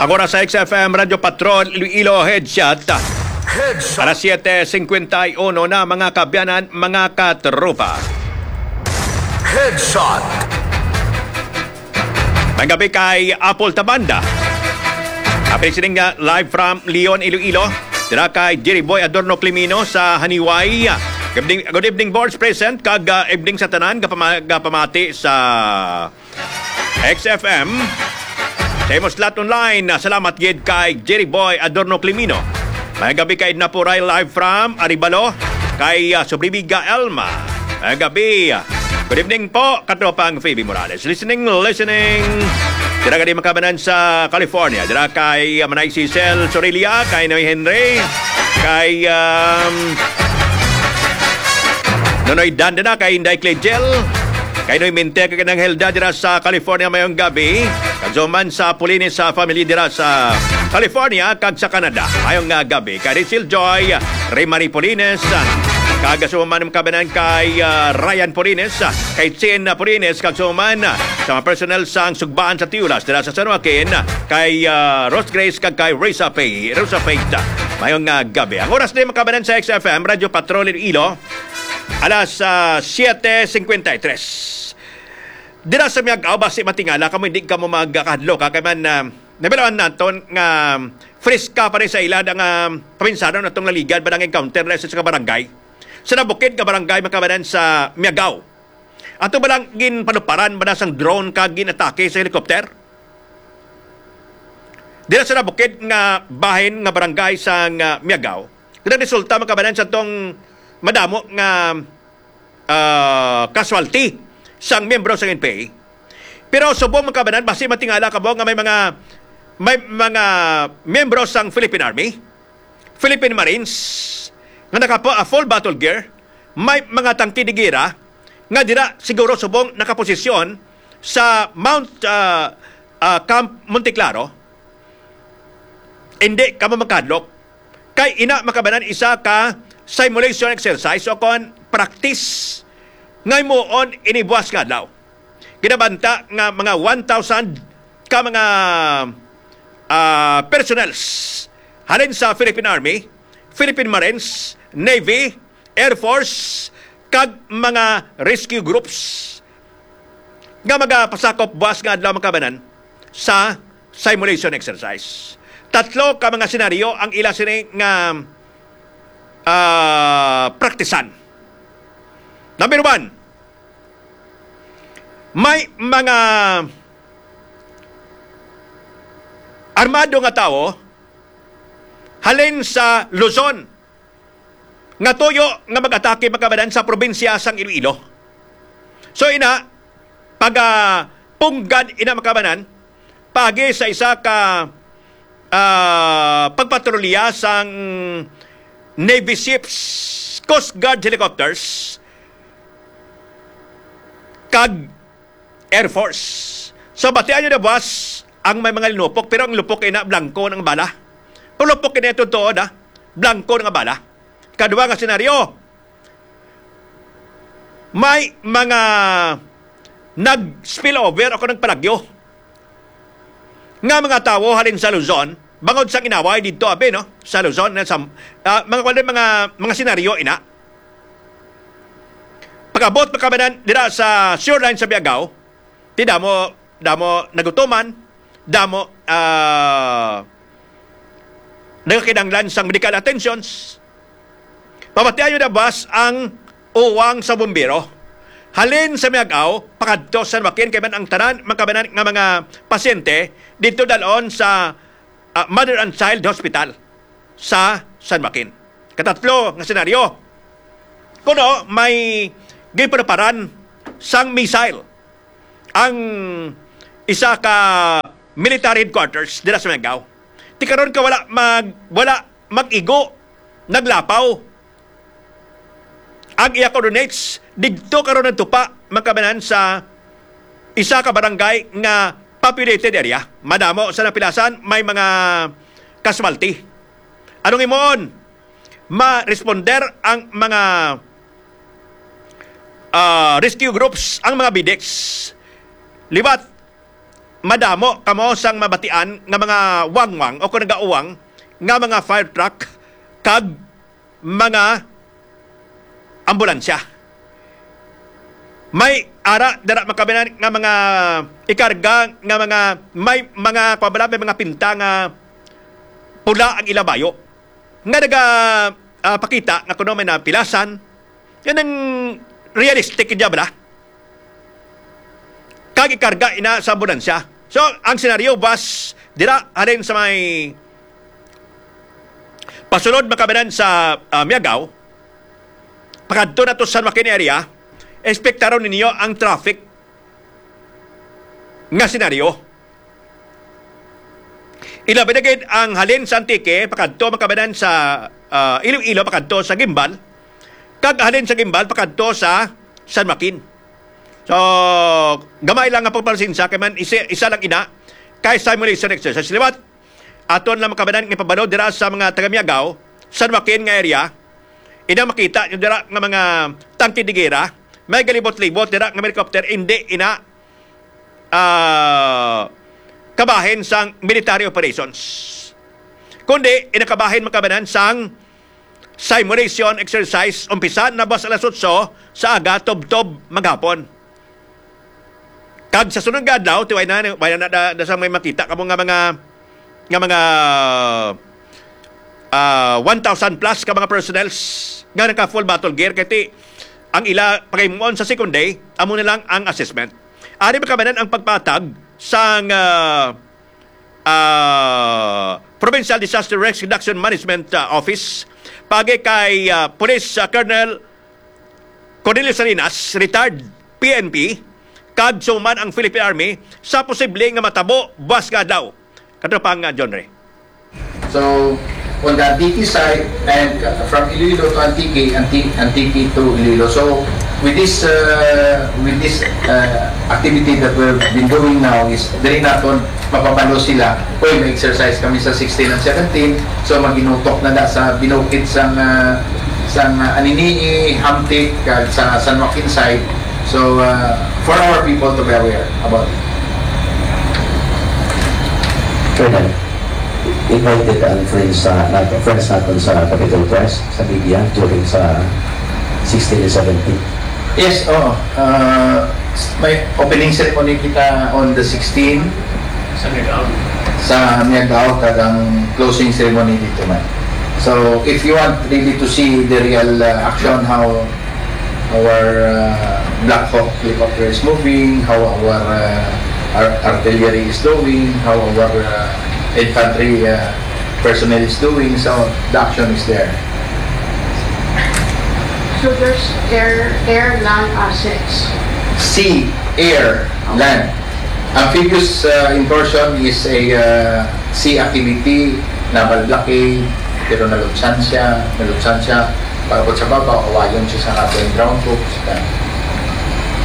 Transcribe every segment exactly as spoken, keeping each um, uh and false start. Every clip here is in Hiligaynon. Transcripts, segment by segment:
Ang oras sa X F M Radyo Patrol Iloilo Headshot. Headshot. Alas siyete singkwenta y uno na, mga kaabyanan, mga katropa. Headshot. Maayong gabi kay Apple Tabanda. Happy listening nga live from Leon, Iloilo. Dira kay Jerry Boy Adorno Climino sa Haniway. Good evening, good evening, boards present, kag, ah, evening sa tanan, gapama-, gapamati sa X F M. Sa Imo Slot Online, ah, salamat gid kay Jerry Boy Adorno Climino. Maayong gabi kay Edna Puray, live from Arevalo, kay, ah, Subribiga Elma. Maayong gabi. Good evening po, katropang Phoebe Morales. Listening, listening. Dira gani, mga kaabyanan, sa California. Dira kay, ah, Manay Cecil Sorilla, kay Noy Henry, kay, um, Nonoy Dan dira, kay Inday Clegel, kay Noy Minte, kay Nang Helda dira sa California, maayong gabi. Kag sa man sa Polines, sa family dira sa California kag sa Canada, maayong, ah, gabi. Kay Rachel Joy, Ray Marie Polines, kag sa man, mga kaabyanan, kay, ah, Ryan Polines, kay Chin Polines, kag sa man sa mga personnel sang Sugbaan sa Tiulas dira sa San Joaquin, kay, ah, Rose Grace kag kay Rosa Faye, Rosa Faith. Maayong, ah, gabi. Ang oras ni, mga kaabyanan, sa X F M Radyo Patrol Iloilo, alas, ah, siyete singkwenta y tres. Dira sa Miag-ao, basi matingala kamo, hindi kamo magkahadlok, ha? Kay man, ah, nabilaan naton nga freska pa rin sa ila ang, ah, paminsano natong naligan ba nang encounter na sa barangay, sa nabukid nga barangay, mga kaabyanan, sa Miag-ao. Ato ba lang ginpanuparan ba na sang drone kag ginatake sa helicopter? Dira sa nabukid nga bahin nga barangay sa, ah, Miag-ao, nagresulta, mga kaabyanan, sa tong madamo nga, ah, casualty sang miyembro sang N P A. Pero subong, mga kaabyanan, basi matingala kamo nga may mga, may mga miyembro sang Philippine Army, Philippine Marines, nga naka-, ah, full battle gear, may mga tangke de gera, nga dira siguro subong nakaposisyon sa Mount, ah, ah, Camp Monteclaro. Hindi kamo magkahadlok. Kay ina, mga kaabyanan, isa ka simulation exercise o kon practice nga himuon ini buas nga adlaw. Ginabanta nga mga one thousand ka mga, ah, personnels halin sa Philippine Army, Philippine Marines, Navy, Air Force, kag mga rescue groups nga magapasakop buas nga adlaw, mga kaabyanan, sa simulation exercise. Tatlo ka mga senaryo ang ila sini nga, ah, praktisan. Number one, may mga armado nga tawo halin sa Luzon nga tuyo nga mag-atake, mga kaabyanan, sa probinsya sang Iloilo. So ina, pagapunggad ina, mga kaabyanan, paagi sa isa ka, ah, pagpatrolya sang Navy ships, Coast Guard helicopters, kag Air Force. So, batian nyo na, boss, ang may mga linupok, pero ang lupok ina, blanco ng bala. Ang lupok ina, totoo na, blanco ng bala. Kadwa nga senaryo, may mga nag-spill over o kung nagpalagyo nga mga tawo halin sa Luzon, bangod sang inaway didto, abi, no? Sa Luzon, na sa, ah, mga, wala, mga, mga senaryo ina. Pag-abot pa kami na dira sa sewer line sa Miag-ao, ti damo, damo nagutuman, damo, ah, nagakinahanglan sang medical attentions. Pamatian nyo na, boss, ang uwang sa bumbero. Halin sa Miag-ao, pakadto sa San Joaquin, kay man ang tanan, mga kaabyanan, nga mga pasyente, didto dalon sa, ah, Mother and Child Hospital sa San Joaquin. Katatlo nga senaryo, kuno may ginpanuparan sang missile ang isa ka military headquarters dira sa Miag-ao. Ti karon ka wala mag-, wala mag-igo, naglapaw ang iya coordinates. Didto karon nagtupa, mga kaabyanan, sa isa ka barangay nga populated area. Madamo sa napilasan, may mga casualty. Anong himuon? Ma-responder ang mga, ah, rescue groups, ang mga BDEX. Liwat madamo kamo sang mabatian nga mga wangwang o kung nagauwang nga mga fire truck kag mga ambulansya. May ara dira makabinan nga mga ikarga nga mga may mga, kuwan bala, may mga pinta nga pula ang ila bayo nga naga, ah, pakita nga kuno may napilasan. Yan ang realistic, di ba? Kag ikarga ina sa ambulansya. So, ang senaryo, bus, dira halin sa may pasulod makabinan sa, ah, Miagao, pakadto na to sa San Joaquin area, espektaron ninyo ang traffic nga senaryo. Ilabi na gid ang halin sa Antique pakadto makabanan sa, ah, Iloilo, pakadto sa Guimbal, kag halin sa Guimbal pakadto sa San Joaquin. So, gamay lang nga pagpalasinsa kay man isa, isa lang ina kay simulation exercise. Liwat, aton lang makabanan nga ipabalo dira sa mga taga Miagao, San Joaquin nga area, ina makita nyo dira nga mga tangke de gera, may galibot-libot dira nga helicopter, hindi ina, ah, kabahin sang military operations. Kundi, ina kabahin makabanan sang simulation exercise, umpisa na buwas alas otso sa aga, tubtob maghapon. Kag sa sunod nga adlaw, ti way na, way na, na, na, na sa may makita kamo nga mga, nga mga, ah, one thousand plus ka mga personnels nga naka full battle gear, kay ti, ang ila pagaymuon sa second day, amo na lang ang assessment. Ari makabanan ang pagpatag sang, ah, ah, Provincial Disaster Risk Reduction Management, ah, Office, pagi kay, ah, Police, ah, Colonel Cornelio Salinas, retired, P N P, kag suman ang Philippine Army sa posible nga matabo buwas nga adlaw. Katropang, ah, John Ray. So, on the Antique side, and, uh, from Iloilo to Antique, Anti-, Antique to Iloilo. So, with this, uh, with this, uh, activity that we've been doing now is, diri naton mapabalo sila, "Uy, may exercise kami sa sixteen and seventeen." So, maginutok na da sa binukid sang, uh, sang, uh, Anini-y, Hamtic, kag sa San Joaquin side. So, uh, for our people to be aware about it. Colonel, invited ang friends sa, nat-, friends naton sa Capitol Press, sa media, during sa sixteen and seventeen. Yes, oo. Uh, may opening ceremony kita on the sixteen. Sa Miagao. Sa Miagao, kag ang closing ceremony dito man. So, if you want really to see the real, uh, action, how our, uh, Black Hawk helicopter is moving, how our, uh, ar-, artillery is doing, how our, uh, infantry, uh, personnel is doing. So, the action is there. So there's air, air, land assets. Sea, air, land. Amphibious, uh, incursion is a, uh, sea activity, naval blockade, pero nalutsan siya, nalutsan siya. Pagkabot sa baba, kawayon siya sa aton ground troops.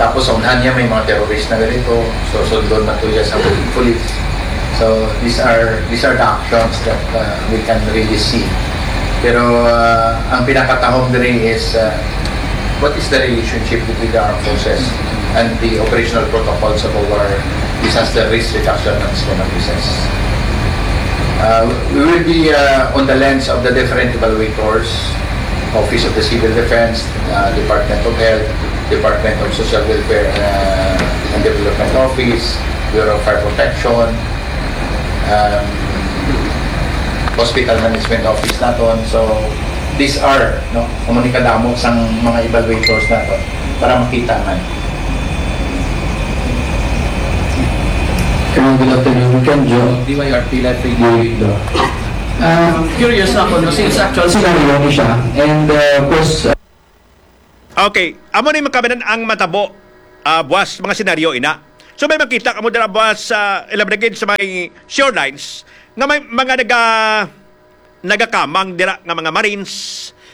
Tapos sa unahan niya, may mga terrorist na ganito. So, sundon na to siya sa police. So, these are, these are the actions that, uh, we can really see. Pero, uh, ang pinakatahom diri is, uh, what is the relationship between the armed forces and the operational protocols of our disaster risk reduction and response officers? Uh, we will be, uh, on the lens of the different evaluators, Office of the Civil Defense, uh, Department of Health, Department of Social Welfare, uh, and Development Office, Bureau of Fire Protection, um, Hospital Management Office naton. So, these are, no, amo ni kadamo sang mga evaluators naton para makita man. Hello, good afternoon. Ken Jo. D Y R P Live Radio. Good. Ah, curious ako, no, since actual scenario ni siya. And, uh, of course, uh, Okay, amo ni makabanan ang matabo, ah, buwas mga senaryo ina. So may makita kamo dira buwas sa, ilabi na gid sa may shorelines nga may mga naga-, nagakamang dira nga mga Marines.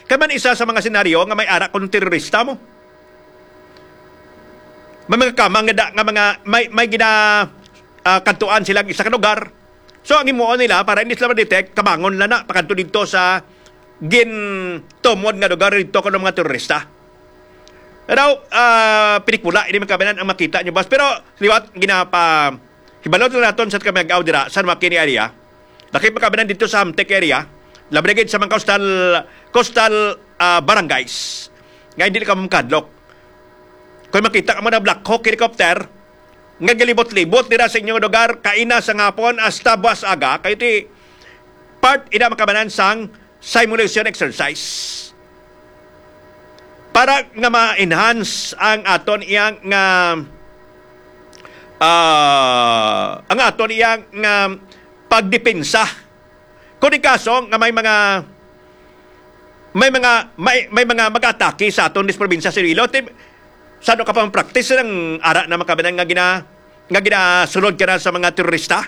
Kay man isa sa mga senaryo nga may ara kung terorista mo. May mga kamang nga da-, nga mga may, may gina, ah, kadtuan silang isa ka lugar. So ang himuon nila para hindi sila ma-detect, kamangon lang na pakadto didto sa gintumod nga lugar didto kuno mga terorista. Daw, ah, pelikula ini, makabanan ang makita nyo, boss. Pero liwat ginapa Hibalo na naton sa kamag-aw dira sa San Joaquin area. Lakip makabanan dito sa Hamtic area. Labi na gid sa mga coastal, coastal, ah, barangays nga hindi ka makadlok. Kung makita ka mo na Black Hawk helicopter nga galibot-libot dira sa inyong lugar, kaina sa hapon hasta buwas aga, kayo ti part ina makabanan sang simulation exercise para nga ma-enhance ang aton iyang nga, ah, ang aton iyang nga pagdepensa. Kung di kaso nga may mga, may mga, may, may mga mag-atake sa aton dis probinsya sa Iloilo, ti-, sado ka pang practice ng ara na makabanan nga gina-, nga ginasulod ka na sa mga terorista?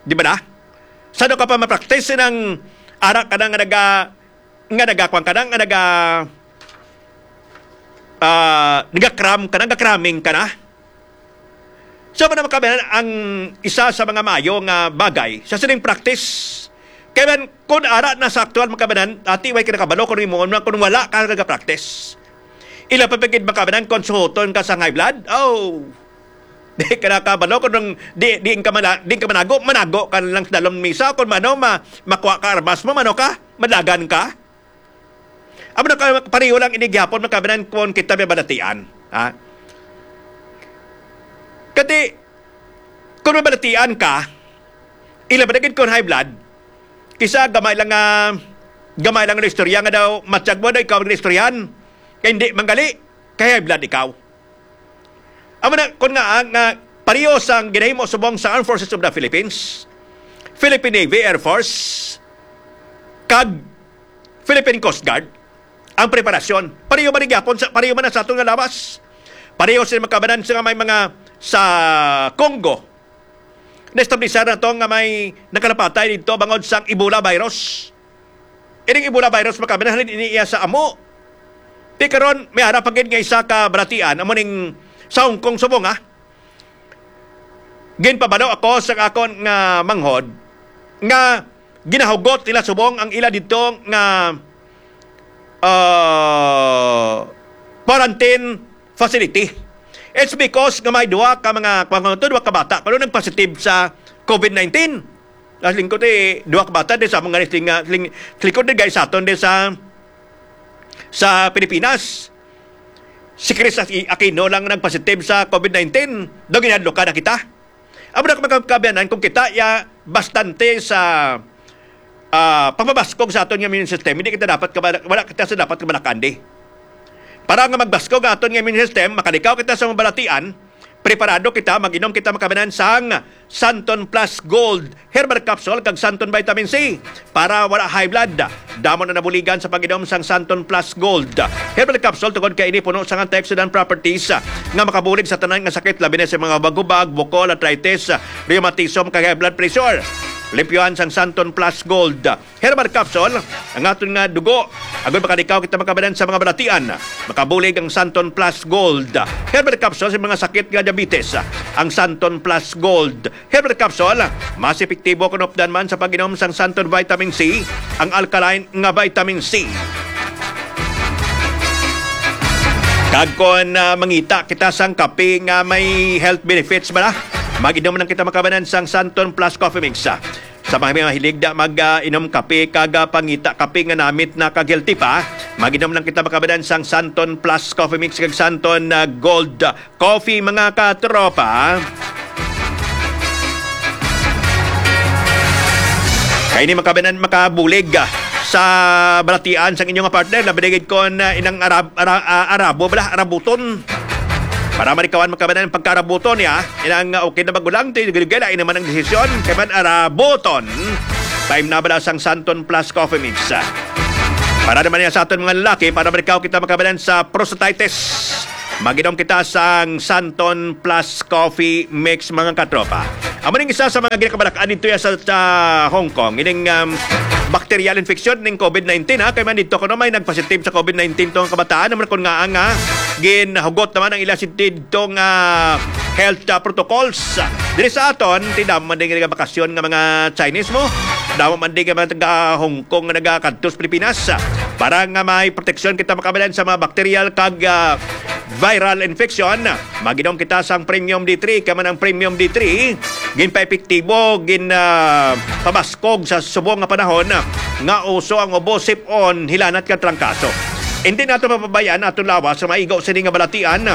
Di ba na? Sado ka pa ma-practice ng ara ka na nga naga-, nga nagakwang ka na, nga naga-, ah, nagakram ka na, nagakraming ka na? So, ano naman kami ang isa sa mga mayo nga bagay sa sining practice? Kaya man, kung ara na sa aktual makabanan, ati, way ka nakabalo kung imo, kung wala ka nagapractice. Ila pa pagid makabanan kung suhoton ka sa high blood? Oh! Di ka nakabalo kung nung di, di ka mana-, di ka manago, manago ka lang sa dalom misa. Kung mano, ma-, makuha ka armas mo, mano ka, madagan ka. Amo na ka, pareho lang ini gihapon makabanan kung kita may balatian. Ha? Kati, kung may balatian ka, ila ba na gid kung high blood? Kisa gamay lang nga, gamay lang nga istorya nga daw, matyag mo daw ikaw ang istoryahan. Kaya hindi manggali, kay high blood ikaw. Amo na, kung nga, nga pareho sang ginahimo subong sa Armed Forces of the Philippines, Philippine Navy, Air Force, kag Philippine Coast Guard, ang preparasyon. Pareho ba ni gyapon sa, pareho man na sa aton nga lawas? Pareho sila magkabanan sa may mga sa Congo. Na-establishar na to nga may nakalapatay dito bangod sang Ebola virus. Ining Ebola virus, makabanan, halin ini iya sa amo. Ti karon, may ara pa gid nga isa ka balatian, amo ning sa Hong Kong subong, ha? Ginpabalo ako sa akon nga manghod nga ginahugot nila subong ang ila dito nga, ah, quarantine facility. It's because nga may duha ka mga, mga, duha ka bata kuno nagpositive sa COVID nineteen. As lingkod, eh, duha ka bata di sa mga ling-, ling-, lingkod di guys sa aton di sa, sa Pilipinas. Si Chris Aqui-, Aquino lang nagpositive sa COVID nineteen. Daw ginadlokan na kita. Amo na, mga kaabyanan, kung kita ya bastante sa, ah, pagpabaskog sa aton nga immune system, hindi kita dapat kabala-, wala kita sa dapat kabalakandi. Para nga magbaskog ang aton nga immune system, makalikaw kita sa mga balatian, preparado kita, mag-inom kita makabanan sang Santon Plus Gold Herbal Capsule kag Santon Vitamin C para wala high blood. Damo na nabuligan sa pag-inom sang Santon Plus Gold Herbal Capsule tungod kay ini puno sang antioxidant properties nga makabulig sa tanan nga sakit, labi na sa mga bagubag, bukol, arthritis, rheumatism, kag high blood pressure. Limpyuhan sang Santon Plus Gold Herbal Capsule ang aton nga dugo. Agod makalikaw kita makabanan sa mga balatian, makabulig ang Santon Plus Gold Herbal Capsule sa mga sakit nga diabetes. Ang Santon Plus Gold Herbal Capsule, mas epektibo kung updan man sa pag-inom sang Santon Vitamin C, ang alkaline nga vitamin C. Kag kung, ah, mangita kita sang kape nga may health benefits bala, mag-inom lang kita makabanan sang Santon Plus Coffee Mix. Sa mga mahilig da mag, ah, inom kape kag, ah, pangita kape nga namit na kag healthy pa, mag-inom lang kita makabanan sang Santon Plus Coffee Mix kag Santon, ah, Gold Coffee, mga katropa. Kay ni makabanan makabulig, ah, sa balatian sang inyong partner, labi na gid kon, ah, inang Arab-, Ara-, ah, Arabo bala, Arabuton. Para malikawan makabanan pagka-Arabuton niya, inang, ah, okay na magulang, ti gila naman ang desisyon, kay man Arabuton. Time na bala sang Santon Plus Coffee Mix. Para naman niya sa aton mga lalaki, para malikaw kita makabanan sa prostatitis. Mag-inom kita sang Santon Plus Coffee Mix, mga katropa. Amo ning isa sa mga ginakabalakan dito ya sa, sa Hong Kong. Ining, um, bacterial infection ning COVID nineteen, ha. Kay man dito kuno may nagpositive sa COVID nineteen tong kabataan. Naman kun nga ang, ah, ginhugot naman ang ila si dito nga health, ah, protocols. Diri sa aton, ti damo man din nga bakasyon nga mga Chinese mo. Damo man din nga mga taga Hong Kong nga nagakadto sa Pilipinas. Para nga may proteksyon kita makabalan sa mga bacterial kag, ah, viral infection. Mag-inom kita sang Premium D three, kay man ang Premium D three, ginpaepektibo, gin, ah, pabaskog sa subong nga panahon nga uso ang ubo, sip-on, hilanat kag trangkaso. Hindi nato mapabayaan aton lawas sa maigo sini nga balatian.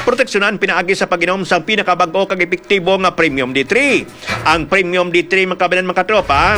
Proteksyonan pinaagi sa pag-inom sang pinakabag-o kag epektibo nga Premium D three. Ang Premium D three, mga kabayan, mga katropa,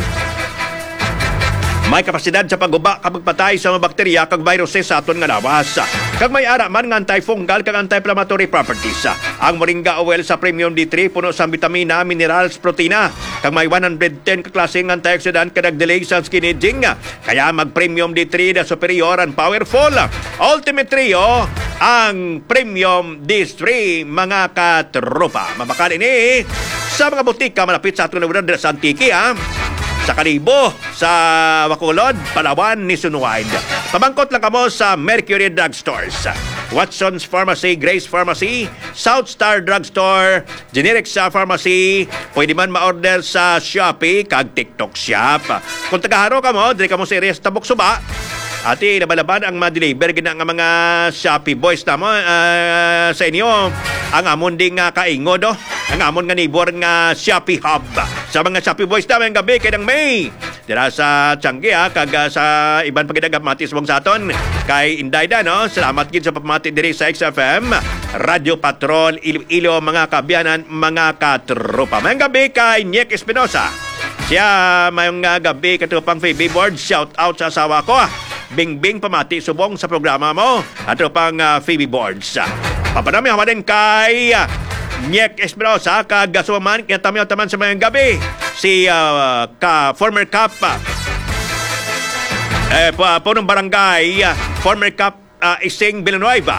may kapasidad sa pagguba kag pagpatay sa mga bakterya kag viruses sa aton nga lawas. Kag may ara man nga antifungal kag anti-inflammatory properties. Ang moringa oil sa Premium D three puno sa bitamina, minerals, protina, kag may one hundred ten ka klase nga antioxidant kag nag-delay sa skin aging. Kaya mag-Premium D three na superior and powerful. Ultimate Trio, ang Premium D three, mga katropa. Mabakal ini sa mga butika malapit sa aton lugar dira sa Antique, ha? Sa Kalibo, sa Bacolod, Palawan, nationwide. Pamangkot lang kamo sa Mercury Drugstores, Watson's Pharmacy, Grace Pharmacy, South Star Drugstore, Generic sa Pharmacy. Pwede man ma-order sa Shopee kag TikTok Shop. Kung taga Jaro kamo, diri kamo sa area sa Tabok Suba, ati, laban-laban ang ma-deliver gina nga mga Shopee boys namo, ah, sa inyo. Ang amon di nga kaingod, oh. Ang amon nga neighbor nga Shopee Hub. Sa mga Shopee boys na, mayong gabi kay Nang May. Dira sa Tiangge, ha, kag, ah, sa iban pa gid nga pamati subong sa aton. Kay Inday da, no? Salamat gid sa pamati diri sa X F M, Radyo Patrol, Iloilo, mga kaabyanan, mga katropa. Mayong gabi kay Nick Espinosa. Siya, mayong, ah, gabi, katropang Phoebe Board. Shout out sa asawa ko, ah. Bingbing, pamati subong sa programa mo, katropang, ah, Phoebe Boards. Papanami, hawa din kay, ah, Nick Espinosa, kag, ah, sumaman, kinatamiyaw taman sa mayong gabi. Si, ah, ka former Kap, ah, eh, pa-, punong barangay, ah, former Kap, ah, Ising Villanueva.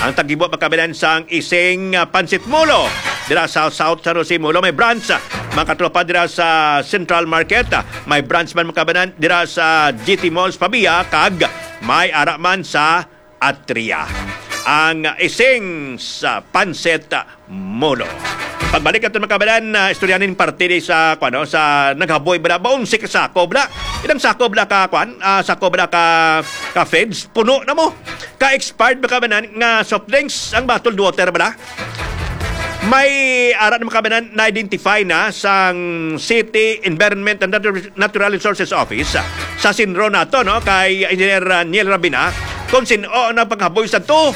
Ang taggibo, mga kabayan, sang Ising, ah, Pansit Molo dira sa South San Jose Molo. May branch, ah, mga katropa, dira sa Central Market. Ah, may branch man, mga kabayan, dira sa G T Malls Pavia, kag may ara man sa Atria. Ang Ising sa Pansit Molo. Pagbalik naton, mga kabayan, na istorya nin parte di sa, kuwan, no, sa naghaboy bala, ba, onse ka sako bala. Ilang sako bala ka, kuwan, ah, sako bala ka, ka feds, puno na mo. Ka expired, mga kabayan, nga soft drinks, ang bottled water bala. May ara na, mga kabayan, na-identify na sang City Environment and Natu-, Natural Resources Office, ah, sa Sinro nato, no, kay Engineer, ah, Neil Rabina, kung sin-o ang nagpanghaboy sa to.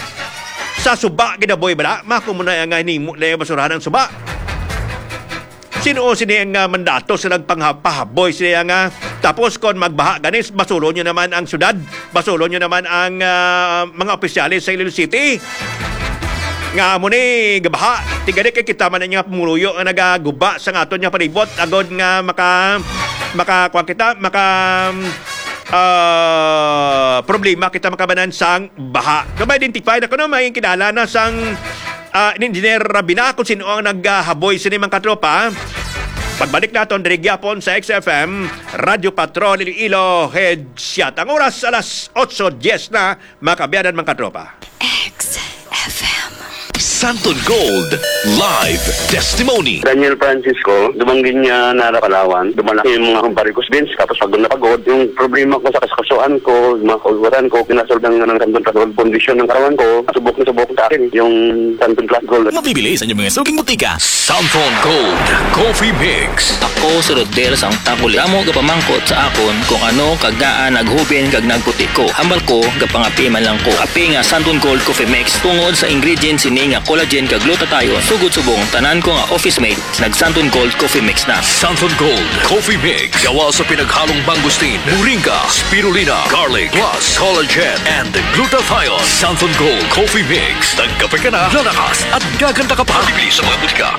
Sa suba ginaboy bala, mako mo na nga hinimo na yung basurahan ang suba. Sino sini ang, ah, mandato sa nagpanghapahaboy sila nga? Tapos kon magbaha ganis, basulo nyo naman ang syudad, basulo nyo naman ang, ah, mga opisyales sa Iloilo City. Nga amo ni gabaha, tigani kay kita man nga pumuluyo nga nagaguba sa aton nga palibot, agod nga maka, maka, kuwan kita, maka, ah, problema kita makabanan sang baha. Kung ma-identify na kuno, may kilala na sang, ah, Engineer Rabina kung sino ang naghaboy sini, mga katropa. Pagbalik naton diri gyapon sa X F M, Radyo Patrol, Iloilo, Head Shot. Ang oras, alas otso dies na, mga kaabyanan, mga katropa. X F M. Santon Gold Live Testimony. Daniel Francisco, dumanggi niya nara Palawan. Dumalaki yung mga kumpare ko sa Vince, tapos pagod na pagod. Yung problema ko sa kasukasuan ko, yung mga kaularan ko, pinasoldan nga ng Santon Gold, kondisyon ng katawan ko, subok na subok sa akin yung Santon Plus Gold. Mabibili sa inyong mga suking butika. Santon Gold Coffee Mix. Ako si Rodel sang Taguli. Damo gapamangkot sa akon kung ano kag ngaa naghubin kag nagputi ko. Hambal ko, gapangapi man lang ko. Api nga Santon Gold Coffee Mix tungod sa ingredients sini nga collagen kag glutathione. Sugod subong, tanan ko nga office mate nag Santon Gold Coffee Mix na. Santon Gold Coffee Mix. Gawa sa pinaghalong mangosteen, moringa, spirulina, garlic, plus collagen and glutathione. Santon Gold Coffee Mix. Nagkape ka na, lalakas at gaganda ka pa. Mabibili sa mga butika.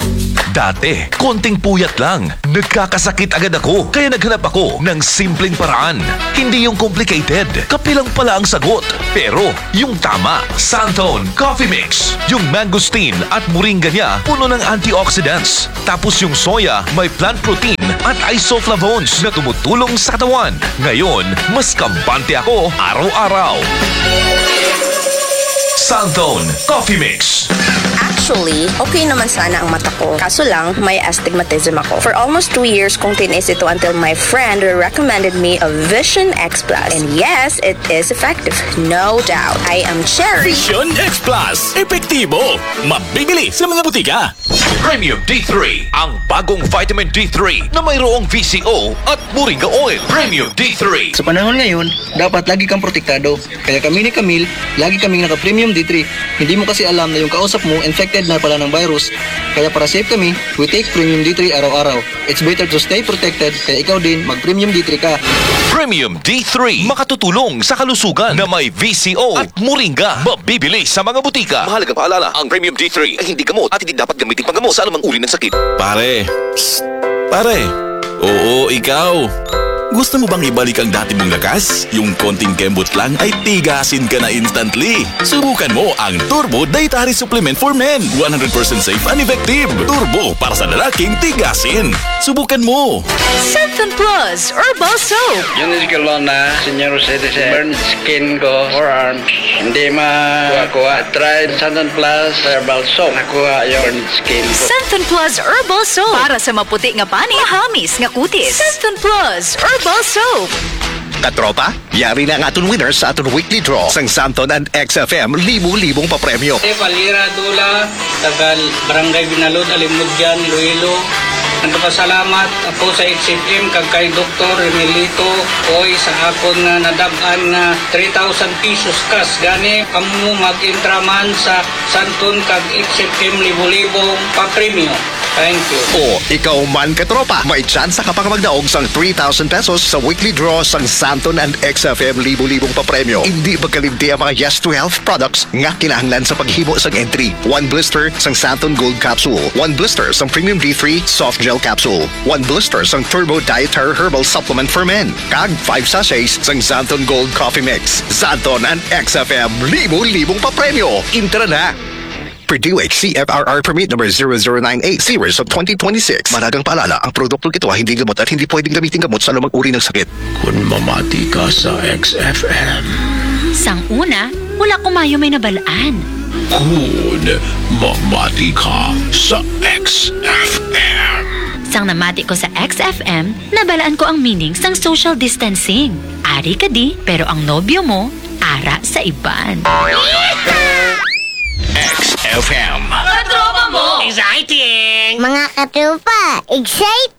Dati, konting puyat lang, nagkakasakit agad ako. Kaya naghanap ako ng simpleng paraan. Hindi yung complicated. Kape lang pala ang sagot. Pero, yung tama. Santon Coffee Mix. Yung mangosteen at moringa niya puno ng antioxidants. Tapos yung soya may plant protein at isoflavones na tumutulong sa katawan. Ngayon, mas kampante ako araw-araw. Santon Coffee Mix. Actually, okay naman sana ang mata ko. Kaso lang, may astigmatism ako. For almost two years kong tinis ito until my friend recommended me a Vision X Plus. And yes, it is effective. No doubt. I am Cherry. Vision X Plus. Epektibo. Mabibili sa mga butika. Premium D three, ang bagong vitamin D three na mayroong V C O at moringa oil. Premium D three. Sa panahon ngayon, dapat lagi kang protektado. Kaya kami ni Camille, lagi kaming naka-premium D three. Hindi mo kasi alam na yung kausap mo infected na pala ng virus. Kaya para safe kami, we take premium D three araw-araw. It's better to stay protected, kaya ikaw din mag-premium D three ka. Premium D three, makatutulong sa kalusugan na may V C O at moringa. Mabibili sa mga butika. Mahalagang paalala, ang Premium D three ay hindi gamot at hindi dapat gamitin panggamot sa anumang uri ng sakit. Pare, psst, pare, oo, ikaw. Gusto mo bang ibalik ang dati mong lakas? Yung konting kembot lang ay tigasin ka na instantly. Subukan mo ang Turbo Dietary Supplement for Men. One hundred percent safe and effective. Turbo para sa lalaking tigasin. Subukan mo. Santon Plus Herbal Soap. Eunice Colonna, senior citizen. Burn skin ko, forearms. Hindi ma kuha-kuha. Try Santon Plus Herbal Soap. Nakuha yung burn skin ko. Santon Plus Herbal Soap. Para sa maputi nga panit, mahamis nga kutis. Santon Plus Herbal Soap. Katropa, yari na ang aton winners sa aton weekly draw sang Santon and X F M libo-libong papremyo. Palira Dula, taga Barangay Binalod, Alimudyan, Iloilo. Nagpasalamat ako sa X F M kag kay Doktor Remelito Oy sa akon nga nadab-an nga three thousand pesos cash. Gani, amo mag-entra man sa Santon kag X F M libo-libong papremyo. Thank you. O ikaw man, katropa, may tsansa ka pa nga magdaog sang three thousand pesos sa weekly draw sang Santon and X F M libo-libong papremyo. Indi magkalimti ang mga Yes to Health products nga kinahanglan sa paghimo sang entry. One blister sang Santon Gold Capsule, one blister sang Premium D three Soft Gel Capsule, one blister sang Turbo Dietary Herbal Supplement for Men, kag five sachets sang Santon Gold Coffee Mix. Santon and X F M, libo-libong papremyo. Entra na! Purdue H C F R R Permit Number zero zero nine eight, Series of twenty twenty-six. Mahalagang paalala, ang produktong ito ay hindi gamot at hindi pwedeng gamitin gamot sa anumang uri ng sakit. Kung mamati ka sa X F M. Sang una, wala ko mayo may nabalaan. Kung mamati ka sa X F M. Sang namati ko sa X F M, nabalaan ko ang meaning sang social distancing. Ari ka di, pero ang nobyo mo, ara sa iban. X F M. Katropa mo! Exciting! Mga katropa, exciting!